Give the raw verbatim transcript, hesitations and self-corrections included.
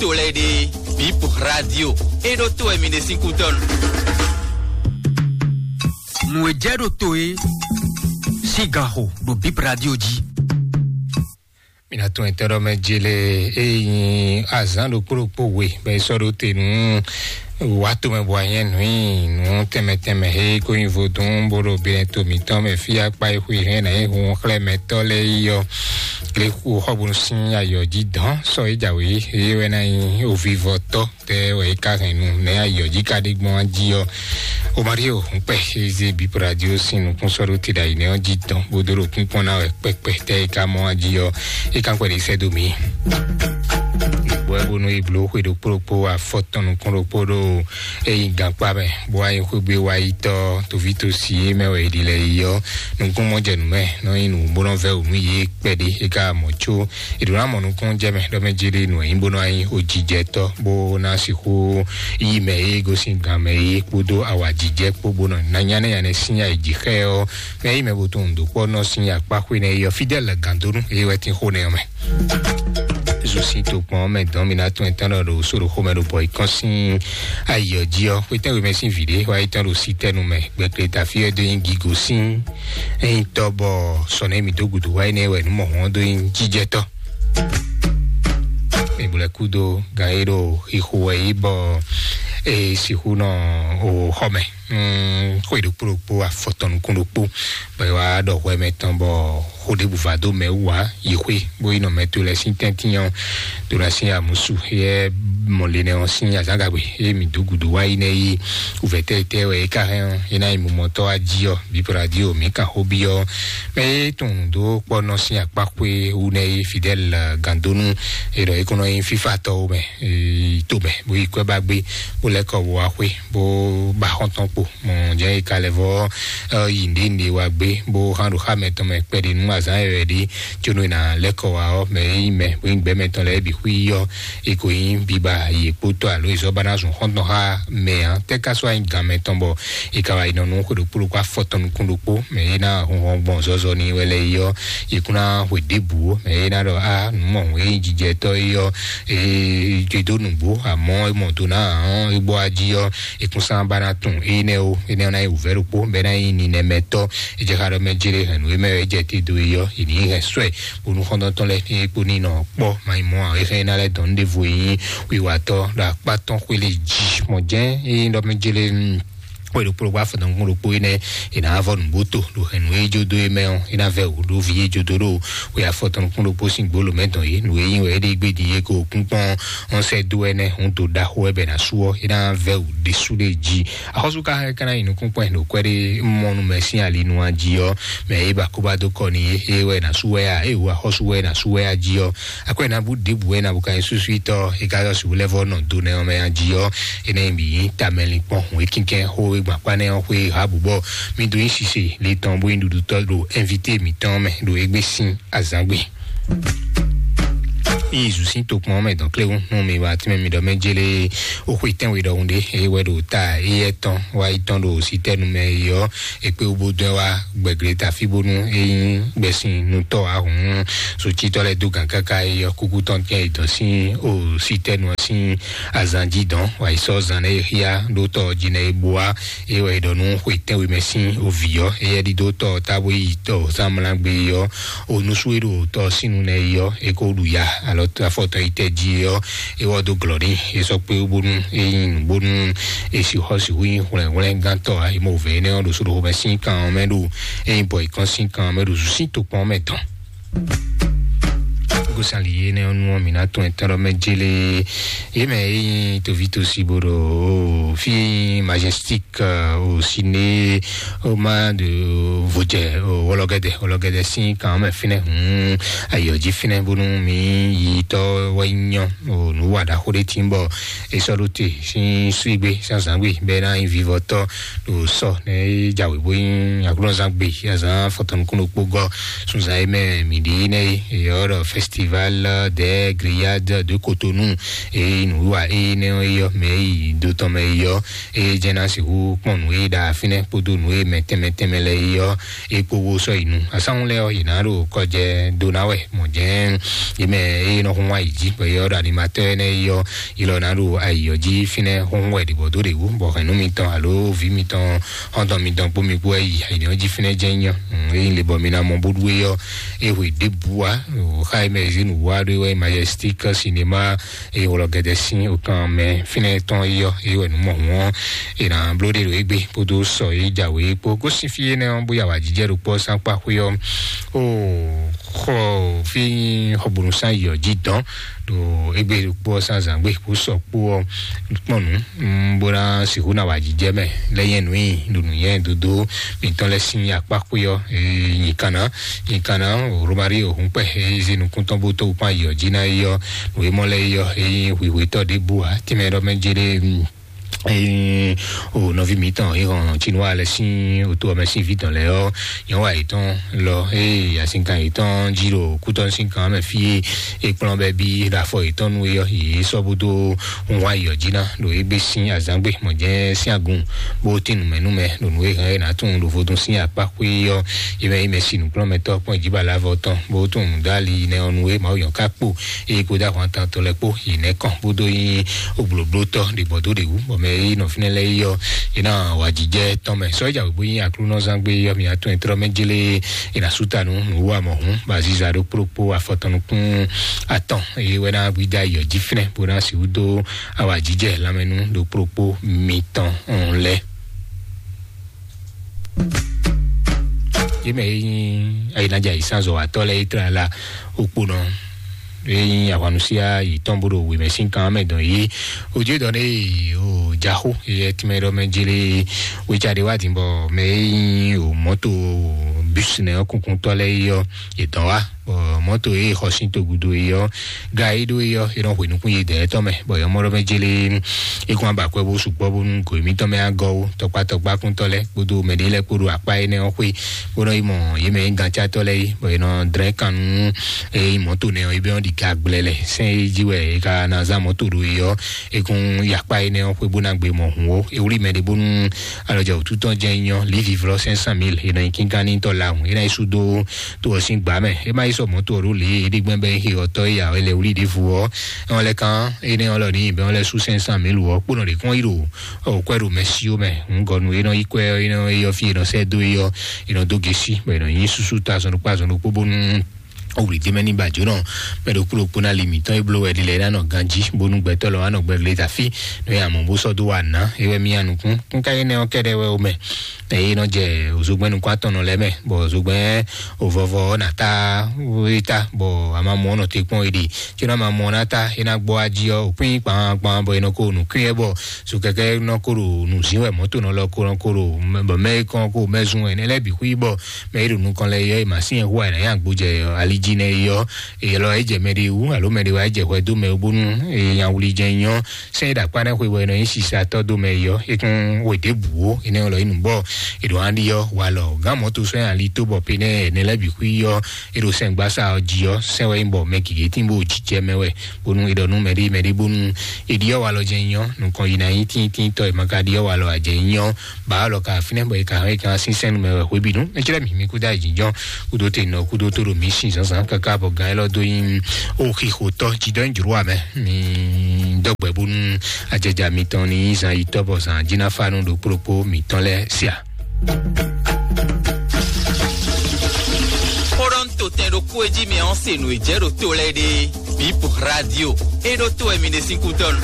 To lɛ́ɛ ɖe, Bip Radio. E ɖo to wɛ mi ɖe sín kútɔ́nu. Nǔ e jɛ ɖo to e sín gan xo ɖo Bip Radio jí. Mi ná tún ɛtɛ́ ɖɔ mɛ jele e nyi azǎn ɖokpó ɖokpó we bɔ é sɔ́ ɖó te nú wǎ tomɛ bɔ anyɛ nǔ nyi nǔ tɛnmɛ tɛnmɛ he ko nyi vodún bó ɖo binɛ to mǐtɔn mɛ fí akpa e xwe hɛn ná nyi hun xlɛ́ mɛtɔ́ lɛ́ɛ yi ɔ́. Lě xu xɔ bónú sín ayɔ jí dɔn sɔ é jǎwe é wɛ ná nyi ovivɔtɔ́ tɛ wɛ é ka hɛn nu nɛ ayɔ jí ka ɖe gbɔn jí ɔ́. O Mario, un kpɛ xézé Bip Radio sín nukún sɔ́ ɖó te ɖo ayǐ nɛ́ ɔ́ jí tɔn bó dó ɖo kúnkún ná wɛ kpɛkpɛ tɛ é ka mɔ jí ɔ́. É ka kpɛ ɖi sɛ́ dó mǐ. Bɔ́ ɛ bónú é bló xwe ɖokpó ɖokpó afɔ tɔn nukún ɖokpó ɖo é nyi gankpá mɛ bó wá nyi xwé gbé wá yi tɔ́ toví tosi é mɛ wɛ é ɖi lɛ yi ɔ́. Nukún mɔ jɛ nǔ mɛ nɔ nyi nǔ bó nɔ vɛ́ wǔ nú yě kpɛɖé é ka mɔ có. È ɖǒ ná mɔ nukúnnú jɛ mɛ ɖɔ mɛ jé ɖé nǔ e nyí bó nɔ wá nyí ojijɛtɔ́ bó ná sixú yí mɛ e gosín gan mɛ é kpódó awǎjijɛ kpó bó nɔ ná nyánɛ́ nyánɛ́ sín ayǐjixɛ ɔ́. Mɛ yí mɛ bo tunwun dǒ kpɔ́ nɔ sín akpá xwé nɛ é ɔ́ Fidɛ́l Gǎndónú é wɛ tín xó nɛ ɔ́ mɛ. Zun sín tokpɔn ɔ́ mɛ dɔn mi ná tún ɛtɔn ɖɔ ɖo sóɖo xomɛ ɖo bɔ ikɔn sín ayǐ ɔ́ jí ɔ́ xwétɛn wemɛ sín vǐ ɖé wá yi tɔn ɖo sítɛnu mɛ gbɛkle tafí ɔ́ dó nyí gigo sín. Ényí tɔ bɔ sɔnɛ mi dó gudu wá énɛ́ wɛ nú mɔ̌hɔn dó nyí jíjɛtɔ́. Mi bu lɛ kúdo gan e ɖo xixo wɛ yí bɔ e sixú nɔ o xɔ mɛ. Xwe ɖokpó ɖokpó afɔtɔn nukún ɖokpó bɔ e wá ɖɔ hwɛ mɛ tɔn bɔ xó ɖěbǔ va dó mɛ wú ǎ. Yi xwé bó yi nɔ mɛ to lɛ sín tɛ́ntin ɔ́ to lɛ sín amusu yɛ mɔlɛnɛ ɔ́ sín azǎngagbe eye mi dó gudu wá yi nɛ yi wǔvɛtɛ́ tɛ́ wɛ é ka hɛn ɔ́ é ná yi mumɔtɔ́ wá jí ɔ́ bíbɔ́ radio mǐ kan xó byɔ́ mɛ é tunwun dó kpɔ́ nɔ sín akpá xwé wú nɛ yi Fidel Gandonu. E ɖɔ é kó nɔ nyi fífa tɔwo mɛ yi to mɛ bó yi kwɛ ba gbé bó lɛ́ kɔ wá xwé bó ba xɔ́ntɔn kpo mɔ jɛ yi ka lɛ vɔ yi nɖe nɖe wa gbé bó hán ɖo xá mɛ tɔn mɛ kpɛɖi nú azán yɛ wɛ ɖi. Tso nɔ yi na lɛ́ kɔ wá ɔ́ mɛ yi mɛ bó yi gbɛ mɛ tɔn lɛ bi xwí ɔ́ e ko nyi biba yi kpótɔ alo yi zɔ ba ná zun xɔ́ntɔn xá mɛ ǎ tɛ ka sɔ anyi gan mɛ tɔn bɔ e ka wá yi nɔ nú xwe ɖokpó ɖokpó afɔ tɔn nukún ɖokpó mɛ yi ná hunhɔn gbɔn zɔzɔ ni wɛ lɛ yi ɔ́ yi kún ná hwe ɖěbǔ mɛ yi ná ɖɔ a nǔ mɔ hwe yi jijɛ tɔ yi ɔ́ e dó nǔgbó amɔ́ e mɔ do ná hɔn e gbɔ ají ɔ́ ekúnsán ba ná tún énɛ́ o énɛ́ ná yi wǔvɛ́ ɖokpó bɛ́ ná yi ninɛmɛtɔ́. È jɛ xa ɖɔ mɛ jlé hɛn nǔ e mɛ wɛ é jɛ te dó e ɔ́ è ní hɛn sɔ́ ɛ bónú xɔ́ntɔ́ntɔ́ lɛ́ɛ ní é kpó ní nɔ kpɔ́ ma nyí mɔ̌ ǎ é hɛn ná lɛ́ dɔn nú ɖěvo e nyí wiwatɔ́ ɖo akpá tɔn xwé lě jí mɔ̌ jɛ́n é nyí ɖɔ mɛ jlé xwe ɖokpó ɖokpó afɔtɔn kún ɖokpó énɛ́ è nǎ vɔ nǔgbó to ɖo hɛn nǔ e jó dó é mɛ ɔ́ é ná vɛ wǔ ɖó ví é jó dó ɖo xwe afɔtɔn kún ɖokpó sín gbǒ lomɛ dɔn yě nǔ e nyí wɛ é ɖe gbé din é ko kún kpɔ́n ɔ́ sɛ́ dó ɛnɛ́ hǔn do ɖaxó wɛ bɛ ná sú ɔ́ é ná vɛ wǔ ɖésú ɖé jí. Axɔ́sú ka hɛn ka ná yi nukún kpɔ́n ɖo kwɛ́ ɖé mɔ nú mɛ sín ali nu a jí ɔ́ mɛ é ba kó ba dó kɔ n'i é wɛ ná sú wɛ a é wǔ axɔ́sú wɛ ná sú wɛ a jí ɔ́ akwɛ́ ná bú ɖěbǔ wɛ ná bú ka nyí súsúítɔ́ é ka yɔ sibú lɛ́ vɔ nɔ do nɛ ɔ́ mɛ a jí ɔ́ é ná nyi bǐ nyí tamɛlinkpɔ́n hǔn é kínkɛ́n xó é gbǎn kpá nɛ́ ɔ́ xwé ha bǔ bɔ mi dó nyí sise le tɔn bó nyí ɖuɖutɔ́ ɖo ɛnvité mǐtɔn mɛ ɖo égbé sín azǎngbe. Yi zu sín tokpɔn mɛ dɔn kléwu nú mi wá tínmɛ mi ɖɔ mɛ jélé ó xwe tɛ́nwe ɖɔhun ɖé é wɛ ɖo ta éyɛ́ tɔn wá yi tɔn ɖo sítɛ́nu mɛ yi ɔ́ é kpé wú bó dɔn wá gbɛ̀glé tafí bónú é nyí gbɛ̀sin nutɔ́ ahǔn socítɔ́ lɛ́ɛ dó gǎn káká yi ɔ́ kúkú tɔn tɛn yi dɔn sín o sítɛ́nu ɔ́ sín azán jí dɔn wá yi sɔ́ zan nɛ é xíá ɖó tɔ jí nɛ é bó wá é wɛ é ɖɔ nú xwe tɛ́nwe mɛ sín o vǐ ɔ́ éyɛ́ ɖídó tɔ tábó yi tɔ zánmlá gbé yi ɔ́ o nusú e ɖo tɔ sínu nɛ yi ɔ́ é kó ɖu ya alɔ afɔtɔn yi tɛ jí ɔ́ é wɔ dó glɔ̌ ní é sɔ́ kpé bónú é nyi nǔ bónú é sixɔ sixú nyi hwlɛ́nhwlɛ́ngántɔ́ ǎ é mɔ wǔvɛ́ énɛ́ ɔ́ ɖo sóɖoxomɛ sín kan ɔ́ mɛ ɖo é nyi bɔ é kɔn sín kan ɔ́ mɛ ɖo zǔ sín tokpɔn ɔ́ mɛ tɔn. Gosali énɛ́ ɔ́ nu ɔ́ mǐ ná tɔn ɛtɛ́ ɖɔ mɛ jélé yě mɛ é nyi toví tosi bó ɖo fí majestik o siné o ma de vodze o wɔlɔgɛdɛ wɔlɔgɛdɛ sín kan mɛ fínɛ hun ayɔ jí fínɛ bónú mi yi tɔ wɛ nyɔ o nu wa ɖaxó ɖé tí bɔ esɔ ɖó te sín suigbe sín azangbe bɛ ná yi vivɔ tɔ ɖo sɔ ne jawe bó nyi aglɔzangbe azan fɔtɔnukun ɖokpó gɔ sunzan yi mɛ mi ɖi ne yɔ ɖɔ festival Val de Grillade de Cotonou. Eye nǔwiwa eye nɛ́ ɔ́, eyɔ mɛ yi do tɔn mɛ eyɔ, eye jɛ́n ná sixú kpɔn nǔ e ɖa fínɛ́ kpódó nǔ e mɛ tɛnmɛ tɛnmɛ lɛ́ɛ eyɔ, e kpó wó sɔ́ yi nu. Asánwó lɛ́ɛ ɔ́, yě ná ɖo kɔjɛ dó ná wɛ mɔ̌ jɛ́n. Yě mɛ eye nɔ hun wá yi jí bɔ yɛ ɔ́ ɖo animatɔ́ énɛ́ eyɔ, yi lɔ ná ɖo ayǐ ɔ́ jí fínɛ́ hún wɛ ɖě bɔ dó ɖě wú bɔ hɛ̌nnu mitɔn alo vǐ mitɔn xɔ́ntɔn mitɔn kpó mi kpó wɛ yi ayǐ ɔ́ jí fínɛ́ jɛ́n nyɔ. Eye le bɔ mi ná mɔ bó ɖu eyɔ, e hwe ɖěbǔ wá, o xa e mɛ zé nǔ wá ɖó wɛ Majestic Cinéma, eye wlɔ gɛdɛ sín okan mɛ fínɛ́ tɔn eyɔ, eye wɛ nǔ mɔ hǔn ɔ́, e ná bló ɖe ɖo égbé kpódó sɔ e jǎwe kpó. Gosín fí énɛ́ ɔ́, bóyá wǎ jijɛ ɖo kpɔ́ sán kpá xwé ɔ́, o xɔ fí xɔbonu sán yi ɔ́ jí dɔn ɖo égbé ɖo kpɔ́ sán zǎngbé kó sɔ kpó ɔ́ kpɔn nǔ, bó ná sixú ná wǎ jijɛ mɛ lɛ́ nyɛ nǔ nyi ɖo nǔnyɛ dodo mitɔn lɛ́ sín akpá xwé ɔ́, nyikanna nyikanna romari òhun kpɛ eze nukúntɔn bó tó kpán yi ɔ́ jí ná yi ɔ́, nǔ e mɔ lɛ́ yi ɔ́, e nyí hwihwetɔ́ ɖěbǔ ǎ, tínmɛ ɖɔ mɛ jé ɖé. Eye o nɔví mǐtɔn e hɔn Chinua lɛ sín oto ɔmɛ sín vǐ tɔn lɛ ɔ́, nyɔ̌wa yětɔn lɔ eye asinkan yětɔn jí ɖo kútɔ́ sín kan mɛ fí e kplɔ́n bɛ́ bí ɖo afɔ yětɔn nu é ɔ́, yě sɔ́ bó dó hun wá yi ɔ́ jí ná ɖo égbé sín azǎngbe mɔ̌ jɛ́n sín agun bó tín nǔmɛnúmɛ ɖo nǔ e hɛn é ná tunwun ɖo vodún sín akpá xwé ɔ́, é mɛ é mɛ si nǔkplɔ́nmɛtɔ́ kpɔ́n ìjíbalávɔ tɔn bó tunwun dó ali nɛ ɔ́ nu é Mawu yɔn ká kpo eye kpódó ahwantan tɔn lɛ́ɛ kpó yi nɛ́ kɔn bó dó nyí oblǒblótɔ́ ɖě gbɔ dó ɖě wú, bɔ mɛ e nɔ fínɛ́ lɛ́ɛ yi ɔ́, é ná wǎjijɛ tɔn mɛ. Sɔ́ja wěwé nyí aklúnɔzán gbé yɔ́ mi atɔn e tlɔ́ mɛ jlé, é ná sú ta nú nǔwú amɔ̌hún, bɔ aziza ɖokpó ɖokpó afɔtɔn nukún atɔn, eye wɛ ná gbídá yi ɔ́ jí fínɛ́, bó ná sixú dó awǎjijɛ lanmɛnú ɖokpó ɖokpó mitɔn lɛ́ɛ. Yě mɛ e nyí ayǐnájà yǐsánzɔ́watɔ́ lɛ́ɛ é tlá la okponɔ e nyí ahwanusíá yětɔn bó ɖo wěmɛ sín kan mɛ dɔn yé. Ojú dɔn ne o jaxó yɛ tìmɛ ɖɔ mɛ jele wétsa ɖe wá dìbò mɛ e nyí o mɔto bus nɛ ɔ́ kunkun tɔ lɛ yɔ yě dɔn wá bɔ mɔto e xɔ sín togudo yɔ ga yi ɖó yɔ e nɔ hwe nukún yi dɛ tɔ mɛ bɔ yɔ mɔ ɖɔ mɛ jele e kún aba kwɛ bó sukpɔ bónú go mítɔn mɛ agɔ wo tɔkpa tɔkpa kúntɔ lɛ kpódó mɛ ɖe lɛ kpódó akpa énɛ́ ɔ́ xwé bó nɔ yi mɔ yě mɛ nyí gantsatɔ́ lɛ́ɛ yi bɔ è nɔ dlɛ́n kan nú eye mɔ̌to nɛ ɔ́, é bɛ́ ɔ́ ɖi ga gblɛlɛ sɛn e jí wɛ è ka ná zán mɔ̌to ɖo é ɔ́, é kún yi akpá énɛ́ ɔ́ xwé bó ná gbe mɔ hǔn ó. É wlí mɛ ɖé bónú alɔjɛ wǔtu tɔn jɛ́n nyɔ́ lívi vlɔ́ cinq cent mille è nɔ nyi kínkánní tɔ́ lawun é ná yi sú dó tó ɔ́ sín gbǎ mɛ. É má yi sɔ mɔ̌to ɔ́ ɖó lě é ɖi gbɛ́ bɛ́ é xe ɔtɔ́ é ya ɔ́ é lɛ wlí ɖěvo ɔ́, é ɔ́ lɛ kán énɛ́ ɔ́ lɔ ní bɛ́ ɔ́ lɛ sú cinq cent mille wɔ kpó nɔ ɖě kɔn yi ɖo ɔ kwɛ ɖo mɛ si ó mɛ ŋgɔnu e nɔ yi kwɛ ɔ e nɔ eyɔ fi e nɔ sɛ do eyɔ e nɔ do gesi bɔ e nɔ nyi susu ta zɔn ɖokpó azɔn ɖokpó bónú owuli dé mɛ ní ba jónɔ mɛ ɖokpó ɖokpó ná li mǐtɔn e bló wɛ ɖi lɛ ná nɔ ganjí bónú gbɛtɔ́ lɔ wá nɔ gbɛ le tafi nɔ ya mɔ bó sɔ́ dó wa ná ewɛ mí anukún kúnká énɛ́ ɔ́ kɛɖɛ wɛ o mɛ eye nɔ jɛ òzogbɛ́n nukún atɔn nɔ lɛ mɛ bɔ òzogbɛ́n òvɔvɔ ɔ́ nà tá wéta bɔ amamɔ ɔ́ nɔ te kpɔn e ɖe tí nɔ amamɔ ɔ́ ná tá é ná gbɔ ají ɔ́ òkúnyí kpawakpawa bɔ e nɔ ko nukún yɛ bɔ so kɛkɛ nɔ ko ɖo nǔzín wɛ mɔ̌to nɔ lɔ ko nɔ ko ɖo bɔ mɛ e kɔn ko mɛ zun wɛ nɛ lɛ bǐ xwí bɔ mɛ e ɖo nukɔn lɛ yɔ e ma sín hu wɛ nɛ yá gbojɛ ali jí nɛ yɔ eyɛ lɔ e jɛ mɛ ɖe wú alo mɛ ɖe wá e jɛ hwɛ dó mɛ wú bónú eye nya wuli jɛ nyɔ sɛn e ɖo akpá nɛ xwe bɔ e nɔ nyi sisa tɔ dó mɛ yɔ e kún we ɖěbǔ wo e nɛ lɔ yi nǔ bɔ e ɖo an ɖi yɔ walɔ gán mɔ̌to sɔn ali tó bɔ pe nɛ nɛ lɛ bǐ xwí yɔ e ɖo sɛn gbasa ɔ jí ɔ sɛn wɛ nyí bɔ mɛ gěgé tín bó jijɛ mɛ wɛ bónú e ɖɔ nú mɛ ɖé mɛ ɖé bónú e ɖi ɔ́ wa lɔ jɛ nyɔ nukɔn yi na nyi tíntínntɔ e ma ka ɖi ɔ́ wa lɔ a jɛ nyɔ ba ɔ́ lɔ ka fínɛ́ bɔ e ka hɛn e ka sín sɛn mɛ wɛ hwebǐnu e clɛ́ mǐ mí kúdó ayǐjínjɔ́n kúdó te nɔ kúdó tó ɖo mǐ sin zǎnzǎn káká bɔ gǎn élɔ́ dó nyí o xixotɔ jidɔ nyí jló amɛ mí dɔgbɛ bónú ajɛja mitɔn ní zan yi tɔ bɔ zan jina fanu ɖo kplokpó mǐtɔn lɛ sia. Kpɔɖɔn to tɛn ɖo kú e jí mi ɔn se nǔ e jɛ ɖo to lɛ ɖe. Bip radio. E ɖo to wɛ mi ɖe sín kútɔnu.